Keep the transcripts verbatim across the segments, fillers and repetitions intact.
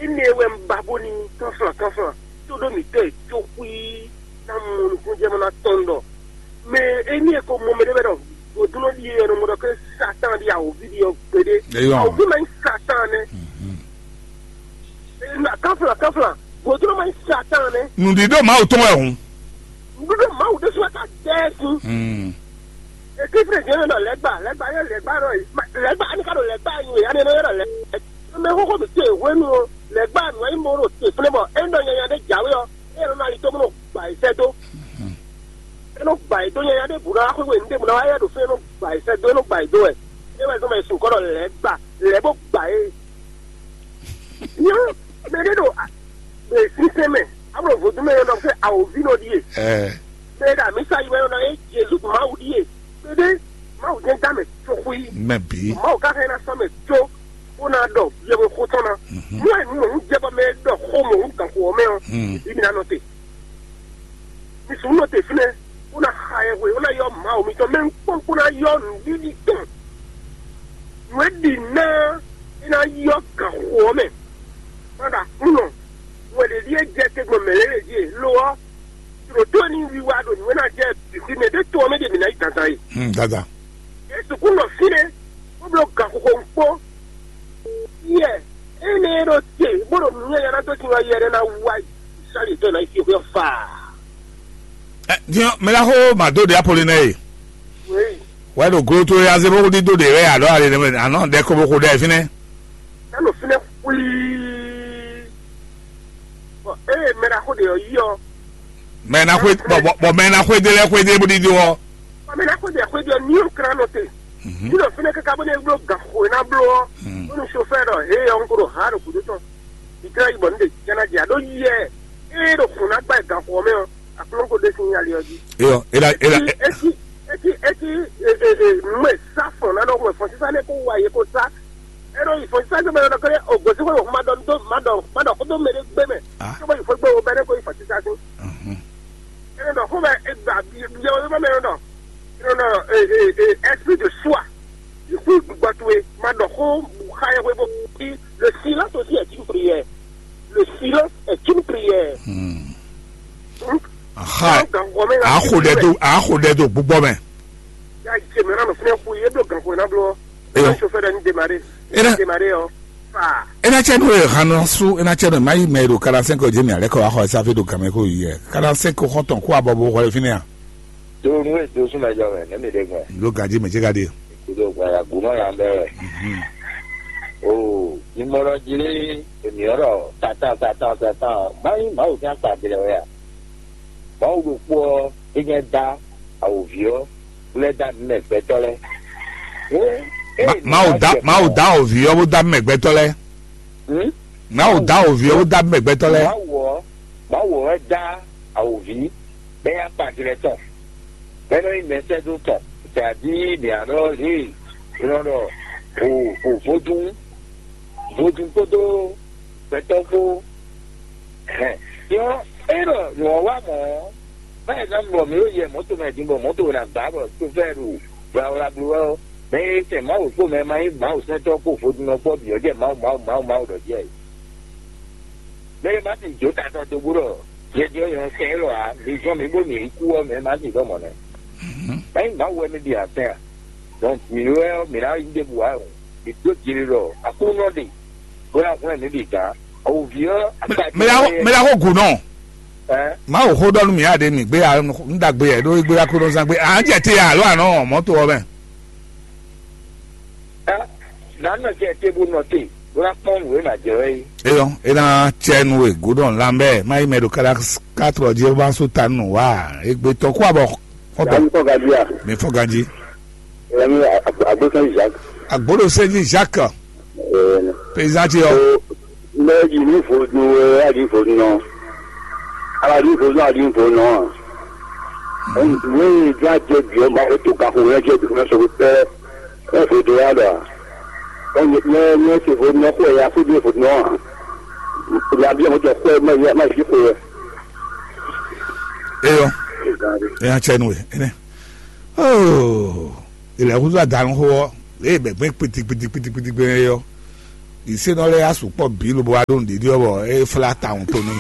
Énɛ́ wɛ un ba bó ní kánflán kánflán tó ɖó mǐtɔn e jó xwí ná mɔ nukúnnú jɛ mɔ ná tɔn ɖɔ mɛ énɛ́ e ko mɔ mɛ ɖé wɛ ɖɔ vodúnɔ ɖíe wɛ nɔ mɔ ɖɔ ké Satan ɖi awǒvi ɖi ɔ́ gbeɖé. Eyɔ. Awǒvi ma nyí Satan nɛ́. Kánflán kánflán vodúnɔ ma nyí Satan nɛ́. Nǔɖíɖó Mawu tɔn wɛ hǔn. Nǔɖuɖu Mawu ɖésú wɛ ka dɛ ɛ sín. Etí Fredzi nɔ ɖɔ lɛ́gbá, lɛ́gbá yɛ lɛ́gbá ɖɔ lɛ́gbá ani ka ɖo lɛ́gbá nyi wɛ ani nɔ ylɔ́ lɛ́gbá. Mɛ xóxó mǐ te hwenu ɔ, lɛ́gbá nǔ e nyí mɔ ɖo te flɛ́ bɔ é nɔ nyanya ɖé jǎwe ɔ́, é nɔ ali tó bó nɔ gba yi sɛ́ dó. É nɔ gba yi dó nyanya ɖé bǔ ná wá xwé nǔ ɖé bǔ ná wá yɛ ɖo fí é nɔ gba yi sɛ́ dó é nɔ gba yi dó wɛ. É wɛ zɔn mɛ sun kɔ ɖɔ lɛ́gbá, lɛ́ bó gba é. Nyɔ mɛ ɖé ɖo sínsɛn mɛ, amlɔ vodún mɛ ɖɔ fɛ awǒvi nɔ ɖíe. Mɛ ɖo amisa yi wɛ nɔ ná yé Jezu Mawu ɖíe. Kpéɖé Mawu jɛ́n dá mɛ có xwí. Mɛ bǐ. Mawu ka hɛn ná sɔ́ mɛ có bó ná ɖɔ yɛwexó tɔn ná. Nú ɛ nú mɔ̌ jɛ bɔ mɛ ɖɔ xó mɔ̌ hú gǎnxó ɔ́ mɛ ɔ́, ibi ná nɔ te. Mi sún nɔ te fínɛ́, bó ná xa yɛhwe, bó ná yɔ Mawu mitɔn mɛ kpɔ́n kpó ná yɔ nǔɖiɖi tɔn. Nǔ e ɖi ná é ná yɔ gǎnxó ɔ́ mɛ. Má ɖo aklúnɔ, wɛ ɖě ɖíe jɛ te gbɔn mɛ̌ lɛ́ɛ jí e. Lo ɔ́, ɖǒtó ní wiwa ɖo nǔ e ná jɛ bǐ xwí mɛ ɖé to ɔ́ mɛ ɖě mǐ ná yi dandan e. Hmm, dada. Jesu kún nɔ fínɛ́, bó bló gǎnxoxo ɖokpó. Yɛ énɛ́ e ɖo te, bó ɖo nǔ nyanya ná dó sin wá yɛ ɖé ná wá yi. Sali tó ná yi fi xwé ɔ́ faa. Ɛ, din ɔ́, mɛ ɖaxó Mado ɖe Apolinɛ e. Wěyi. Wɛ ɖo glo towe azé bó ɖídó ɖe wɛ alɔ ali nɛ mɛ anɔ ɖɛ ko bó xo ɖɛ fínɛ́. Ná nɔ fínɛ́ xwíí. Bɔ ée mɛ ɖaxó ɖě ɔ́ yí ɔ́, Mɛ ná xwé bɔ bɔ bɔ mɛ ná xwé dé lɛ xwé dé bó ɖídó ɔ́. Bɔ mɛ ná xwé ɖě xwé ɖě ɔ́, ní ɔ́ klán nɔ te. Ní nɔ fínɛ́ káká bó ná bló gan xo e ná bló ɔ́, bónú sofɛ́ ɖɔ hé ɔ́, un ko ɖo ha ɖo gǔdo tɔn. Ìjlá yi bɔ ní ɖe jɛ ná jɛ aɖó yɛ ée ɖo xun ná gbá ɛ gan xo ɔ́ mɛ ɔ́, aklúnɔ ko ɖe sín ali ɔ́ jí. Eyɔ, ela ela Eti eti eti eti nǔ e sá fɔn ná nɔ hun ẹ̀fọn sísá nɛ́ kó wa yě kó sá. É ɖo yi fɔn sísá gbé mɛ ɖɔ kéré o gosí xó ma ɖɔ dó ma ɖɔ ma ɖɔ xó dó mɛ ɖé gbé mɛ. Ah. Tó bá yi fɔ gbé o bɛ ɖé kó yi fɔn sísá sí. Mhm. É nɔ xó mɛ é gba biɛ biɛ o mɛ mɛ ɖɔ. É nɔ e e e esprit de soi. Ìkú gbígbɔ towe ma ɖɔ xó xa yɛ hwebo. Le silence aussi est une prière. Le silence est une prière. Hmm. Aha. Axo ɖɛ do axo ɖɛ do gbogbo mɛ. Ya jɛ mɛ na nɔ fɛn xu ye do gan ko na blɔ. Eyo. Chauffeur ni démarrer. Ena démarrer o. Fa. Ena cɛ no e hanu su ena cɛ no mayi mɛ do quarante-cinq jɛ mi alɛ ko axɔ sa fi do gamɛ ko yɛ. Quarante-cinq xɔtɔn ko abɔ bo xɔ fini a. Do nu e do suma jɔ mɛ ne mi de gbɛ. Lo gaji mɛ jɛ gadi. Kudo gbaya gumɔ ya bɛ wɛ. Mhm. O ni mɔlɔ jili emi ɔrɔ tata tata tata. Mayi mawu kan kpa gɛlɛ wɛ a. Mawu ɖokpó ɔ́ é nyɛ dá awǒvi ɔ́ lɛ́ dá nǔ mɛ gbɛtɔ́ lɛ́ɛ. Mawu dá mawu dá awǒvi ɔ́ bó dá mɛ gbɛtɔ́ lɛ́ɛ. Mawu dá awǒvi ɔ́ bó dá mɛ gbɛtɔ́ lɛ́ɛ. Mawu ɔ́ mawu ɔ́ wɛ dá awǒvi bɛ́ yá kpa jlɛ tɔn bɛ́ nɔ nyí mɛsɛ́dó tɔn tɛ̌dí mǐ a ɖɔ lě è nɔ ɖɔ o o vodún vodún kpódó gbɛtɔ́ kpó. Hɛn yɔ é ɖɔ nyɔ̌ wa mɔ̌ báyìí ná bɔ mǐ ɖo yɛ mɔ̌to mɛ din bɔ mɔ̌to ná gbá bɔ sofɛ́ɛ ɖo wlawla bló wɛ ɔ́ mɛ e sɛn Mawu kpó mɛ ma nyí Mawu sɛntɔ́ kpó vodúnnɔ kpó bǐ ɔ́ jɛ Mawu Mawu Mawu Mawu ɖɔ jɛ. Mɛ e ma ti jó tatɔ dó bó ɖɔ yɛjɛ yɔ sɛn élɔ́ ǎ, mi zɔn mi bó mi yi kú ɔ́ mɛ ma ti dɔ́ mɔ̌ nɛ́. Mɛ nyí Mawu wɛ mi ɖi atɛn a? Donc mǐ wɛ ɔ́ mǐ ná yí ɖěbǔ wá o. Mǐ dó jǐ ɖɔ Aklúnɔ ɖe bó ná hwlɛ́n mǐ bǐ gán. Awǒvi ɔ́ akpa mɛ la mɛ la xo gǔ nɔ. Ɛ Mawu xó ɖɔ nú mǐ aɖe mǐ gbé ya ń dagbe yɛ ɖó égbé Aklúnɔzán gbé à ń jẹ te ya alo àná mɔtò ɔ́ mɛ. Ɛ nǎ nɔ jɛ te bó nɔ te bó ná kpɔ́n nǔ e nǎ jɛ wɛ é. Eyɔ é ná cɛ nu e gǔ ɖɔ ńlá bɛ má yi mɛ ɖo káɖá kátó jí bá só ta nù wá égbé tɔ́ kó abɔ. Fɔtɔ Dani fɔ gadi a? Mi fɔ ganji. Ɛmi agbókan Isaac. Agbóɖo sɛji Jacques. Ɛɛ. Paysan ti yɔ. O lɛ yi ní vodun ɛ adi vodun nɔ. Ala di vodun adi vodun nɔ. Ɛn wéyi dza jɛ biɔ ma o to ka ko wɛ jɛ biɔ ma sɔ pɛ. Ɛ vodun ya dɔ. Ɛn nyɛ nyɛ se vodun nɔ ko ya ko di vodun nɔ. Ya biɔ mo jɔ ko ma ya ma fi ko. Eyɔ. Eya tsɛ nu e ene. Oh, ilẹ̀ kúndú àdánù xó ọ́, èyí bẹ̀ gbé kpitikpitikpitikpiti gbé yɔ. Ìsénɔ lɛ́ɛ yá sukpɔ́ bǐ lobo wá ɖó nǔɖiɖi ɔ́ bɔ é flá tawun tó n'i.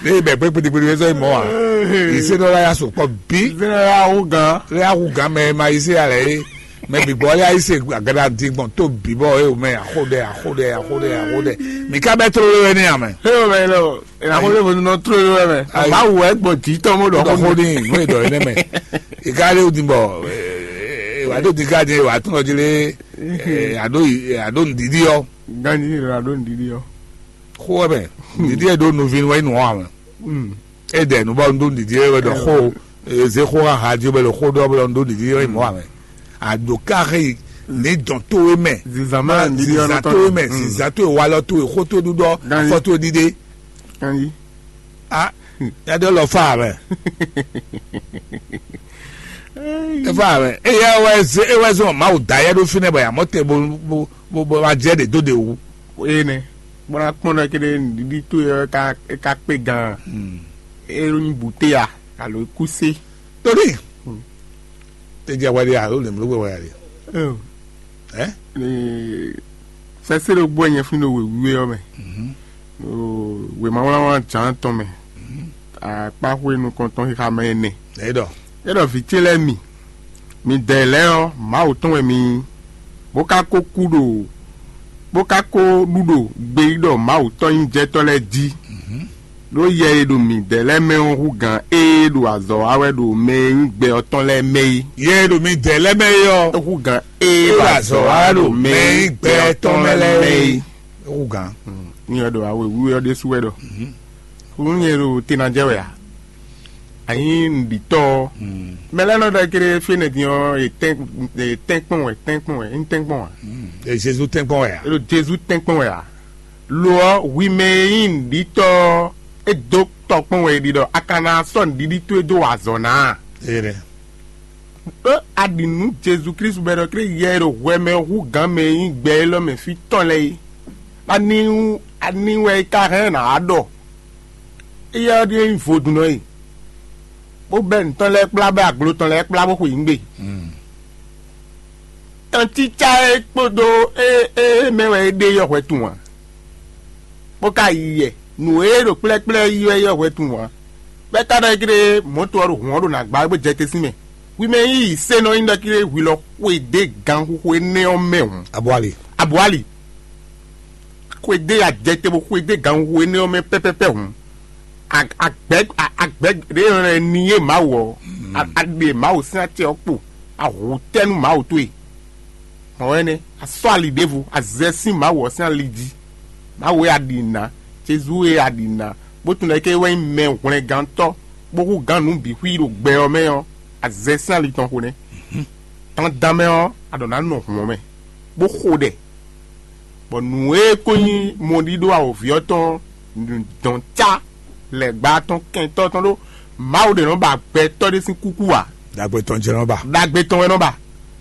Ní bɛ kpé kpiɖikpiɖi wé sɔ́ yi mɔ̌ ǎ. Ìsénɔ lɛ́ɛ yá sukpɔ́ bǐ. Ìsénɔ lɛ́ɛ yá hú gǎn. Lɛ́ɛ yá hú gǎn mɛ e ma yi sé alɛ é. Mɛ bǐ gbɔ lɛ́ɛ yá yi se agada din gbɔn tó bǐ bɔ é o mɛ axó ɖɛ axó ɖɛ axó ɖɛ axó ɖɛ. Mǐ ká bɛ́ tlóló wɛ ní amɛ. É o mɛ lɔ. Ìnáwó lè fún nɔ tlóló wɛ mɛ. Ayi. Báwo wɛ gbɔn jǐ tɔn mo ɖɔ Ɖɔ xó xó ní. Ní nú èdɔ yìí nɛmɛ. Ìka lé odin bɔ wà á dó din ká din wà á tún lọ jí lé. Àdó àdó nìdídí ɔ. Ganji ní ìlú àdó nìdídí ɔ. Xó wɛ mɛ nìdídí ɛ ɖó nuvi wɛ nù ɔ mɛ. Èdè nu bɔ nu ɖó nìdídí ɛ wɛ ɖɔ xó. Eze xó ha ha jí bɛ ɖo xó ɖɔ bɛ nu ɖó nìdídí ɛ mɔ mɛ. Àdó ká xé ní dɔn tó wé mɛ. Zizan mɛ nìdídí ɔ Zizan tó wé mɛ zizan tó wé walɔ tó wé xó tó ɖúɖɔ Ganji. Afɔ tó wé ɖíɖé. Ganji. Ah, yàtọ̀ lọ fa mɛ. Efa mɛ. Eya wɛ ze ewɛ zɔn Mawu da yɛ ɖo fínɛ bɔ yàmɔ tɛ bo bo bo bo ma jɛ ɖe dó de wu. Eye nɛ. Bɔn akpɔn ɖɔ kéde nɖiɖi tó yɛ ka ka kpe gan. Elu nyi bute ya alo kuse. Torí. Tedzi awɛ ɖe alo lɛmɛ ló wɛ wɛ ɖe. Ɛ? Sɛsɛ ɖo gbɔ nyɛ fún ɖo wěwé ɔ́ mɛ. Wěmawlánwlán Jǎan tɔn mɛ, akpáxwé nukɔntɔn xixa mɛ ɛnɛ. Ɛ ɖɔ. É ɖɔ vǐ ce lɛ́ɛ mi, midɛɛ lɛ́ɛ ɔ́, Mawu tɔn wɛ mi nyí, bó ka ko kú ɖo bó ka ko ɖu ɖo gbeyíɖɔ Mawu tɔn nyí jɛtɔ́ lɛ́ɛ jí. Ɖó yɛ e ɖo midɛɛ lɛ́ɛ mɛ ɔ́ hú gǎn ée ɖo azɔ̌ wa wɛ ɖo mɛ e nyí gbɛ ɔ́ tɔn lɛ́ɛ mɛ é. Yɛ e ɖo midɛɛ lɛ́ɛ mɛ é ɔ́, é hú gǎn ée ɖo azɔ̌ wa wɛ ɖo mɛ e nyí gbɛ ɔ́ tɔn lɛ́ɛ mɛ é. É hú gǎn. Ní ɔ́ ɖo awe wíwé ɔ́ ɖésú wɛ ɖɔ. Kúnú nyɛ ɖo te ná jɛ wɛ a? Anyi nǔɖitɔ́ ɔ́. Mɛ lɛ́ɛ nɔ ɖɔ kéré fínɛ́ din ɔ́, è tɛ́nkpɔ́n wɛ, tɛ́nkpɔ́n wɛ, nyí tɛ́nkpɔ́n wɛ a? Ɛ Jezu tɛ́nkpɔ́n wɛ a? É ɖo Jezu tɛ́nkpɔ́n wɛ a? Lo ɔ́, hwi mɛ e nyí nǔɖitɔ́ ɔ́, é dó tɔkpɔn wɛ è ɖi ɖɔ a ka ná sɔ́ nǔɖiɖi towe dó wa azɔ̌ ná a? Éɖɛ́. Ɖó a ɖi nǔ Jezu Klísu bɔ è nɔ klé yɛ e ɖo hwɛ mɛ ɔ́ hú gǎn mɛ e nyí gbɛ élɔ́ mɛ fí tɔn lɛ́ɛ é. Ani ani wɛ è ka hɛn ná wá ɖɔ? Éyɛ́ ɔ́ ɖíe nyí vodúnnɔ e, bó bɛ́ nǔ tɔn lɛ́ɛ kplá, bɛ́ aglo tɔn lɛ́ɛ kplá, bó xwe yǐngbe. Tɔntícá e kpódó e e mɛ wɛ é ɖe yɔhwɛ tunwun ǎ, bó ka yi yɛ. Nǔ e ɖo kplɛ́kplɛ́ yi wɛ yɔhwɛ tunwun ǎ. Bɛ́ ka ɖɔ églé mɔ̌to ɔ́ ɖo hǔn ɔ́ ɖo nǎ gbá wɛ bó jɛ te sín mɛ. Hwi mɛ e nyí yǐsénɔ nyí ɖɔ kí hwi lɔ xwedé ganxixo énɛ́ ɔ́ mɛ hǔn. Abwali. Abwali. Xwedé ajɛtɛ bó xwedé ganxixo énɛ́ ɔ́ mɛ pɛ́pɛ́pɛ́ hǔn. Agbɛ̌ agbɛ̌ ɖě e nɔ ni yé Mawu ɔ́, a ɖe Mawu sín acɛ ɔ́ kpo, a hu tɛ́ nú Mawu towe. Mɔ̌ wɛ nɛ́, a sɔ́ ali ɖěvo, a zɛ sín Mawu ɔ́ sín ali jí. Mawu e a ɖi nǎ, Jezu e a ɖi nǎ, bó tunwun ɖɔ é ké wɛ nyí mɛ hwlɛngantɔ́, bó hú gǎn nǔ bǐ xwí ɖo gbɛ ɔ́ mɛ ɔ́, a zɛ sín ali tɔn xo nɛ́. Dandan mɛ ɔ́, a ɖǒ ná nɔ hǔn ɔ́ mɛ, bó xo ɖɛ, bɔ nǔ e ko nyí mɔɖíɖó awǒvi ɔ́ tɔn dɔn cá lɛ̌gbá tɔn kɛntɔ́ tɔn ɖó Mawu ɖě nɔ ba gbɛtɔ́ ɖé sín kúkú ǎ. Ɖagbe tɔn jɛ nɔ ba. Ɖagbe tɔn wɛ nɔ ba.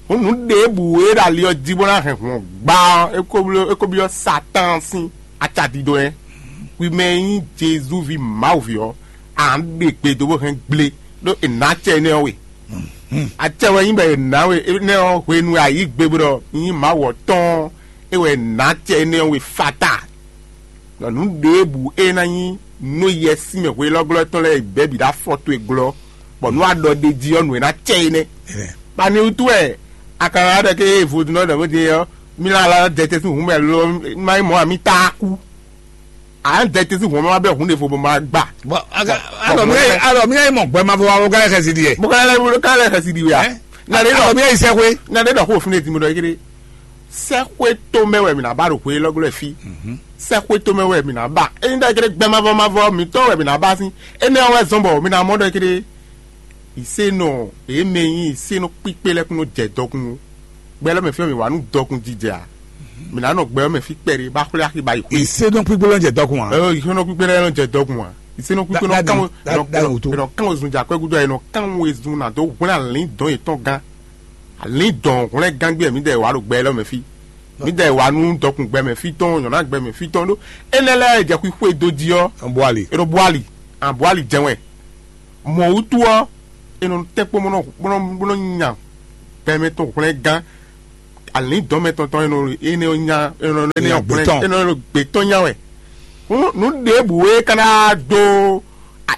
Hǔn nǔ ɖěbǔ e ɖo ali ɔ́ jí bó ná hɛn hǔn ɔ́ gbá ɔ́, é ko byɔ́ é ko byɔ́ Satáan sín acadídó wɛ. Hwi mɛ e nyí Jezu ví Mawu ví ɔ́, à ń ɖe gbe dó bó hɛn gblé, ɖó è nǎ acɛ énɛ́ ɔ́ we. Acɛ wɛ nyí bɔ è nǎ we énɛ́ ɔ́ hwenu e a yǐ gbe bó ɖɔ nyí Mawu ɔ́ tɔn ɔ́, é wɛ è nǎ acɛ énɛ́ ɔ́ we fata. Ɖɔ nǔ ɖěbǔ e ná nyí nú yɛ sín mɛ hwelɔ́glɔ́ tɔn lɛ́ɛ bɛ̌ bǐ ɖo afɔ towe glɔ́, bɔ nú a ɖɔ ɖ'é jí ɔ́, nǔ e ná cɛ é nɛ́. Bɔ ani wútu wɛ a ka ná ɖɔ ké vodúnnɔ ɖɔ bó din ɔ́, mí lá lá dɛ te sín hǔn mɛ lo má nyí mɔ̌ ǎ, mí tá kú. Ǎ dɛ te sín hǔn mɛ má bɛ́ hǔn ɖěvo bɔ má gbà. Bɔn alɔ mi alɔ mi ayi mɔ gbɛ ma fɔ wa wɔ gán xɛsi di yɛ. Mo ka lɛ ka lɛ xɛsi di wɛ a? Ɛ? Na ɖe alɔ mi ayi sɛ xwe. Na ɖe ɖɔ xo fún ne ti mo ɖɔ kiri. Sɛxwétomɛ wɛ mǐ ná ba ɖo hwelɔ́glɔ́ fí. Sɛxwétomɛ wɛ mǐ ná ba. Ényí ɖɔ ékedé gbɛ mavɔ mavɔ mǐtɔn wɛ mǐ ná ba sín. Énɛ́ ɔ́ wɛ zɔ́n bɔ mǐ ná mɔ ɖɔ ékedé. Ìsénɔ, èé mɛ nyí ìsénɔ kpíkpé lɛ́ɛ kún nɔ jɛ dɔkun ó. Gbɛ lɛ́ɛ mɛ fí ɔ́, mǐ wá nú dɔkun jijɛ ǎ. Mǐ ná nɔ gbɛ ɔ́ mɛ fí kpɛɖé bá xwlé axi ba yi xwé. Ìsénɔ kpíkpé lɛ́ɛ jɛ dɔkun ǎ. Ɛ, ìsénɔ kpíkpé lɛ́ɛ nɔ jɛ dɔkun ǎ. Ìsénɔ kpíkpé nɔ kán wezun jɛ akwɛ́ gúdo ǎ, è nɔ kán wezun ná dó hwlɛ́n alǐndɔ̌n yětɔn gán. Alǐndɔ̌n hwlɛ́ngán gbé mǐdɛɛ wǎ ɖo gbɛ élɔ́ mɛ fí. Mǐdɛɛ wǎ nú dɔkun gbɛ mɛ fí tɔn, nyɔ̌ná gbɛ mɛ fí tɔn ɖó énɛ́ lɛ́ɛ jɛ xwixwe dó jí ɔ́, Bwali. È nɔ bwali, an bwali jɛ́n wɛ. Mɔ̌ wútu ɔ́, è nɔ tɛ́nkpɔ́n bó nɔ bó nɔ bó nɔ nya gbɛ mɛ tɔn hwlɛ́ngán. Alǐndɔ́mɛ tɔn tɔn e nɔ e nɔ nya e nɔ e nɔ Nya gbe tɔn. E nɔ gbe tɔn nya wɛ. Nú nú ɖěbǔ e ka ná dó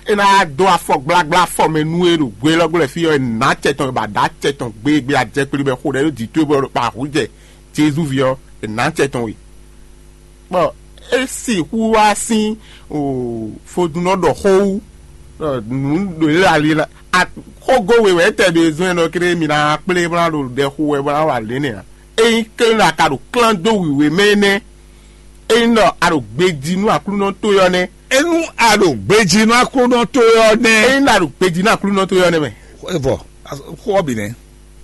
e ná dó afɔ gblagbla afɔ mɛ nú e ɖo gbe lɔ gblɛ fí ɔ́, e nǎ acɛ tɔn ba ɖa acɛ tɔn gbégbé ajɛkpli bɛ xo ɖɛ ɖó dǐ towe bɔ ɖo kpa hǔ jɛ Jezu ví ɔ́, e nǎ acɛ tɔn we. Bɔ é sixú wá sín vodúnnɔ ɖɔ xó wú. Nǔ ɖo yě ali la xógó we wɛ é tɛ ɖo ezɔ́n ɛnɔ kéré mi ná kplé bó ná ɖo ɖɛ xo wɛ bó ná wa lě nɛ ǎ. Ényí kélé a ka ɖo klán dó wǐwé mɛ énɛ́, ényí ɖɔ a ɖo gbejí nú Aklúnɔ towe ɔ́ nɛ́. Enu a ɖo gbejí nú Aklúnɔ towe ɔ́ nɛ́. Ényí ɖɔ a ɖo gbejí nú Aklúnɔ towe ɔ́ nɛ́ mɛ. Evɔ, xó ɔ́ bǐ nɛ́.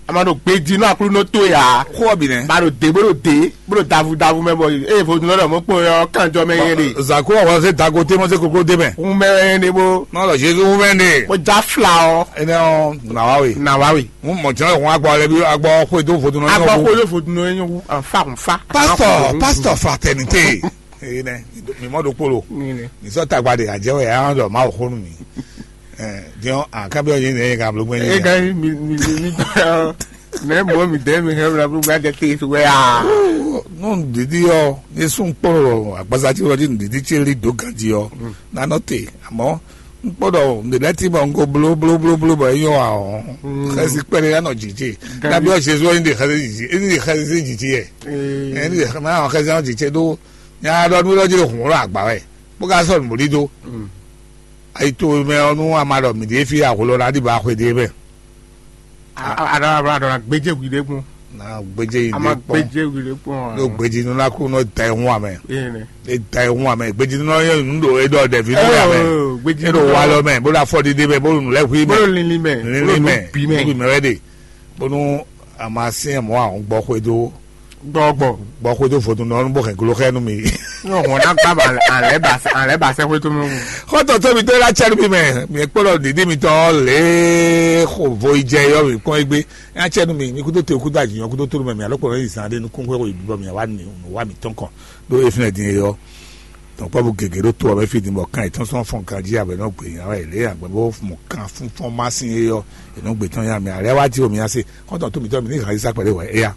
A ma ɖo gbejí nú Aklúnɔ towe ǎ. Xó ɔ́ bǐ nɛ́. Ba ɖo dě bó ɖo dě bó ɖo davu davu mɛ bɔ eye vodúnnɔ ɖɔ mɔ kpɔn ɔ́ kánjɔ mɛ yɛ ɖe. Zako ɔwɔ se dago te mɔ se koklo de mɛ. Hun mɛ yɛ ɖe bó. N'ɔ lɔ Jezu hun mɛ ɖe. Bó já fla ɔ. Enɛ ɔ, na wa we. Na wa we. Hun mɔ jɔn hun agbɔ lɛ bi agbɔ xwe do vodúnnɔ. Agbɔ xwe do vodúnnɔ yɛ nyɔ wu anfa anfa. Pastor, pastor fraternité. Ee nɛ, mi mɔ ɖokpolo. Mi sɔ tagba ɖe ajɛ wɛ ya ɖɔ Mawu xó nú mi. Ɛ, diɔ akabi ɔyɛ ne ka blo gbɛ. E ka mi mi mi mi nɛ mɔ mi dɛ mi hɛ bla bla jɛ te su wɛ a. Nɔ didi ɔ, ne sun kpɔlɔ agbaza ti wɔ di didi ti li do ganji ɔ, na nɔ te, amɔ n kpɔdɔ n de lɛ ti bɔ n ko blo blo blo blo bɔ eyɔ a ɔ. Xɛsi kpɛɖe ya nɔ jiji. Nabi ɔ Jesu ɔ, n de xɛsi jiji, n de xɛsi jiji yɛ. N de xɛsi jiji do. Nya ɖɔ nú ɖɔ jí ɖo hǔn ɖo agba wɛ, bó ka sɔ́ nǔɖiɖo. Ayi towe mɛ ɔ́, nú a ma ɖɔ mǐ ɖíe fí ahwlo ná ɖi ba xwe ɖé mɛ. Aɖɔ aɖɔ aɖɔ gbéjé hwi ɖé kún. Na gbéjé yi a ma ɖé kpɔn. Gbéjé hwi ɖé kún. Ɖo gbéjínú ná kú nɔ da ihun amɛ. Ene. E da ihun amɛ, gbéjínú nɔ yɛ nǔ ɖo e ɖɔ ɖɛvi nú amɛ. Gbéjínú e ɖo wa lɔ mɛ bó ɖo afɔ ɖiɖe mɛ bó ɖo nǔ lɛ́ hui mɛ. Bó ɖo linlin mɛ. Linlin mɛ bó ɖo nǔ bǐ mɛ. Bó ɖo mɛ wɛ ɖe. Bónú a ma syɛ́n mɔ̌ ǎ, un gbɔ xwedó. Gbɔgbɔ. Gbɔ xwedó vodúnnɔ ɔ́ bó hɛn glo xɛ nú mi. Ní o hɔn ná gbá ba alẹ́ ba alẹ́ ba sẹ́ xwé tó mɛ. Xɔ́ntɔn tóbi tó lá cɛ́ nú mi mɛ, mi kpɔ́ ɖɔ dǐdí mitɔn lě xo vo yi jɛ yɔ mi kpɔ́n égbé. Nya cɛ́ nú mi, mi kúdó te kúdó ajǐnyɔ kúdó tónú mɛ mi alɔ kpɔ́ yi zan ɖé nukún xwé xo yi bibɔ mi wá mi nǔ wá mi tɔn kɔn ɖó e fínɛ́ din é yɔ. Dɔnkpɔ́bú gěgé ɖó to ɔ́ mɛ fí din bɔ kan yětɔn sɔ́ fɔ́n ganjí abɛ nɔ gbě nya wɛ lě agbɛ̌ bó mɔ kan fúnfɔ́n má sín é yɔ. È nɔ gbě tɔn nya mi alɛ wá jí omi nya se. Xɔ́ntɔn tóbi tɔn mi ní hǎn yí sá kpɛɖé wɛ éya.